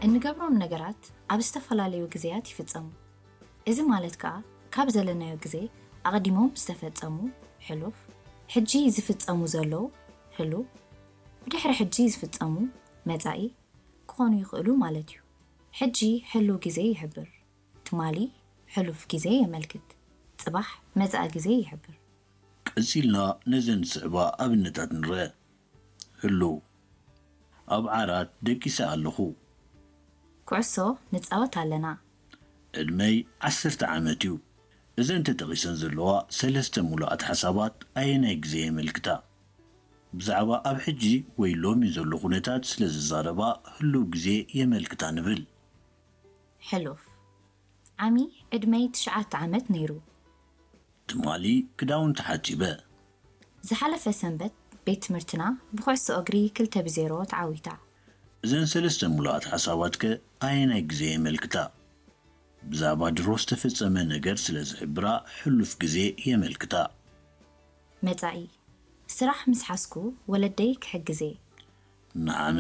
እንገብሮም ነገራት ኣብ ዝተፈላለዩ ግዜያት ይፍጸሙ። እዚ ማለት ከኣ ካብ ዘለናዮ ግዜ ኣቐዲሞም ዝተፈጸሙ፣ ሕሉፍ፣ ሕጂ ዝፍጸሙ ዘለዉ፣ ህሉው፣ ብድሕሪ ሕጂ ዝፍጸሙ፣ መጻኢ፣ ክኾኑ ይኽእሉ ማለት እዩ። ሕጂ ህሉው ግዜ ይሕብር። ትማሊ ሕሉፍ ግዜ የመልክት። ጽባሕ መጻኢ ግዜ ይሕብር። ቀጺልና ነዘን ዝስዕባ ኣብነታት ንርእ። ህሉው፣ ኣብ ዓራት ደቂሰ ኣለኹ። ኩዕሶ ንጻወት ኣለና። ዕድመይ ዓሰርተ ዓመት እዩ። እዘን ተጠቒሰን ዘለዋ ሰለስተ ምሉኣት ሓሳባት ኣየናይ ግዜ የመልክታ? ብዛዕባ ኣብ ሕጂ ወይ ሎሚ ዘሎ ኩነታት ስለ ዝዛረባ ህሉው ግዜ የመልክታ ንብል። ሕሉፍ፣ ዓሚ ዕድመይ ትሽዓተ ዓመት ነይሩ። ትማሊ ክዳውንቲ ሓጺበ። ዝሓለፈ ሰንበት ቤት ትምህርትና ብኩዕሶ እግሪ ክልተ ብዜሮ ተዓዊታ። እዘን ሰለስተ ምሉኣት ሓሳባትከ ኣየናይ ግዜ የመልክታ? ብዛዕባ ድሮ ዝተፈጸመ ነገር ስለ ዝሕብራ ሕሉፍ ግዜ የመልክታ። መጻኢ፣ ስራሕ ምስ ሓዝኩ ወለደይ ክሕግዝ እየ። ንዓመት